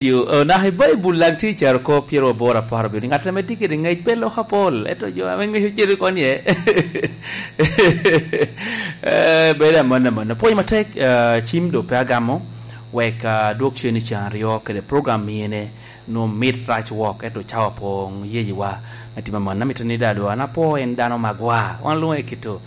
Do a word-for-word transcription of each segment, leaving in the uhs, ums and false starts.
Yo, oh, naka i Baibul daŋ tye i Caroko pyeraboro apar abiro, ni ŋat ame tye kede ŋec pe lok apol, ento jo ame ŋec ocito kony iye. Eh, bedo amanna, amanna. Pwony matek, eh, cim doŋ pe agamo, wek, ah, adwog cen i can aryo kede program mine, nwoŋo mit rac wok, ento cawa poŋ yeyewa. Me timo amanna, amito ni daŋ dwon apwo en dano magwa. Wan lwoŋo i kito,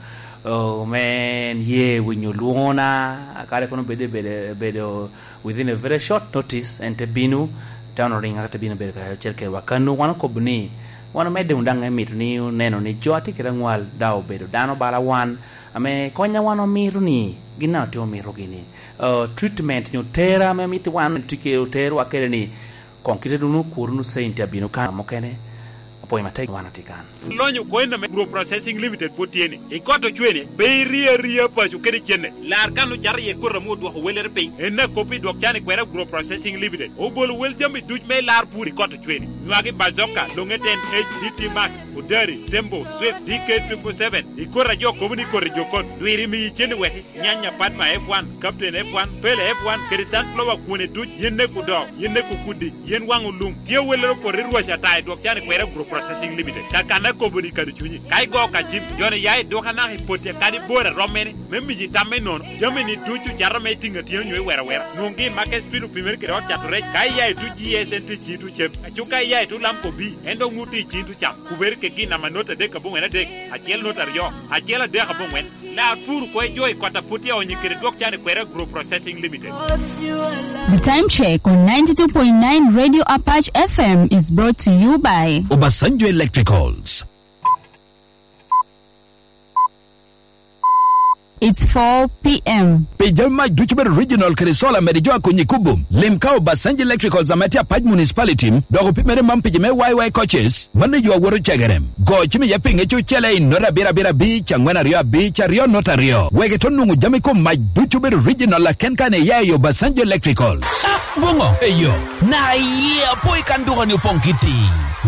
oh, me en ye winyo lwona, kare kono bedo, bedo, bedo within a very short notice, en te bino, te ono riŋa, te bino bedo kacel kedwa. Kano wan okobo ni, wan omedde wunu daŋ emito ni oneno ni jo a tye kede aŋwal daŋ obedo dano bala wan, ame kony a wan omito ni, gin daŋ otye omito gini. Uh, treatment nyo tera ame mito wan tye ke-, oterwa kede ni, koŋ kite wunu okur wunu centi abino kan mukene, apwony matek wan atye kan. Lonyo oko en ame Agro Processing Limited pwod tye ni. I kot ocwene, pe iri aria paco kede cene. Lar kan ocato iye koti ame odwoko wellere piny. En akop i dwok can i kwera Agro Processing Limited. Obolo wel jami duc me lar pur i kot ocwene. Nywagi bazoka, longe ten H D T Max, Odari, Tembo, Swift, D K triple seven. I koti a jo kobo ni koti jo kot. Dwiri miyi cene wek nyanya Padma F one, Captain F one, Pele F one, kede sunflower kwone duc, yen nek odo, yen nek okudi, yen waŋ olum. Tye wellere opoto i rwac ata i dwok can i kwera Agro Processing Limited. Kakanna kobo ni kado cunyi. Ka igo ka cim, joni ya i duka naka i poti kadi bor a rom mene, me miyi tam me nono. Jami ni ducu cato me tiŋ atiŋa nyo i wera wera. Nwoŋgi i Market Street opimere kede ot cato rec. Ka iya i tuc G S N tye i ciŋ tuc cem. Aco ka iya i tuc Lamco B, en dok nwoŋo tye i ciŋ tuc cam. Kubere kegi namba not adek aboŋwen adek, acel not aryo, acel adek aboŋwen. Lar pur oko i jo i kot a pwod tye aonyo kede dwok can i kwera Agro Processing Limited. The time check on ninety-two point nine Radio Apache F M is brought to you by Obasanjo Electricals. It's four p.m. Pi jami mac ducu bedo original kede solar mede jo a konyi kubo. Lim ka Obasanjo Electricals ame tye Apac Municipality, dok opimere man pi jo me Y Y coaches. Mano yo awoto cegerem. Go cim iye pinge cucele i not abiro abiro abic, angwen aryo abic, aryo not aryo. Wek ito nwoŋo jami kom mac ducu bedo original aken kan iya i Obasanjo Electrical. Ah, boŋo? Eyo. Na iye apo i kan duka ni opoŋ kiti.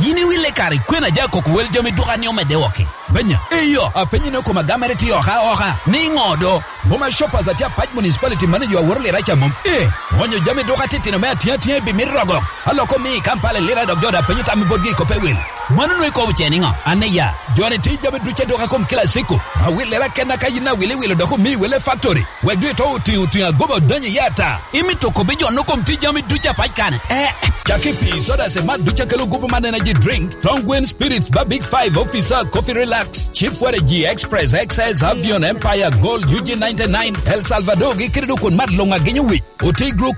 Yin iwille kare kwena ja koko wel jami duka ni omedde woki. Benya. Eyo, apenyi ni okoma gamere ti oka oka. Ni ŋo do? Boma Shoppers atye Apac Municipality manager aworo lira ca mom. Eh, onyo jami duka titino me atiŋ atiŋ i bimit rogo. Aloko mi i Kampala lira dok jo da penyo tam i botgi i kope wil. Mano nwe kobo ce niŋo? An iya. Joni ti jami duce duka kom kila siko. Awil lira kena ka yin awil iwilo dok omi wele factory. Wek dwe to otiŋ otiŋ agoba odonyo i ata. Imito kobi jo no kom ti jami duce Apac kane. Eh. Caki pi soda se mat duce kelo gupu man energy drink. Strong Wind Spirits ba Big Five Officer Coffee Relax. Chief Waragi Express X S Avion Empire Gold U G ninety-nine El Salvador gi kede dok kun mat luŋ agenyo wic. Oti glucose